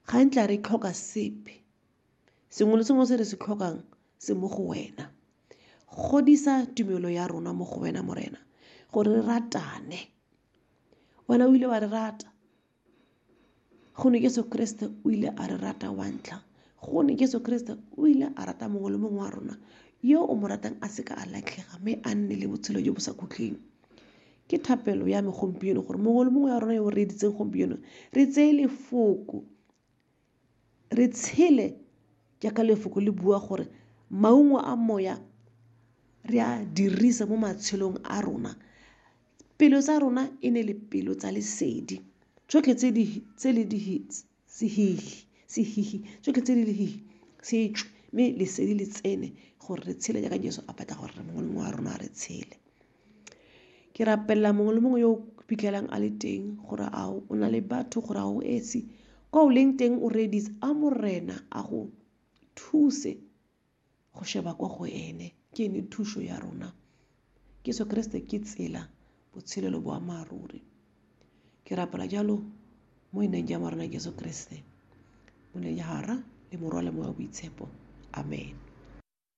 Ga ntla re tlhoka sepe. Sengwe le sengwe se re se tlhokang se mo go wena. Godisa tumelo ya rona mo go wena, Morena, gore re ratane. Wena o ile wa re rata. Gonne Jesu Kriste o ile a re rata wa ntlha. Gonne Jesu Kriste o ile a rata mongwe le mongwe wa rona yo o mo ratang a seka a latlhega mme a nne le botshelo jo bo sa khutleng. Ke thapelo ya me gompieno gore mongwe le mongwe wa rona yo o reeditseng gompieno re tseye lefoko, re tshele jaaka lefoko le bua gore maungo a moya re a dirise mo matshelong a rona. Pelo tsa rona e ne le pelo tsa lesedi, tsotlhe tse di tse le di sehihi sehihi tsotlhe tse di lehihi se tswe, mme lesedi le tsene gore re tshele jaaka Jesu a batla gore mongwe le mongwe wa rona re tshele. Ke rapelela mongwe le mongwe yo o fitlhelang a le teng gore a o na le batho, gore a o esi kwa o leng teng o reeditse, a Morena a go thuse go sheba kwa go ene. Ke ene thuso ya rona. Jesu Kriste ke tsela, botshelo le boammaaruri. Ke rapela jalo mo ineng ja Morena Jesu Kriste, mo ineng ya Rara le Morwa le Moya o Boitshepo. Amen.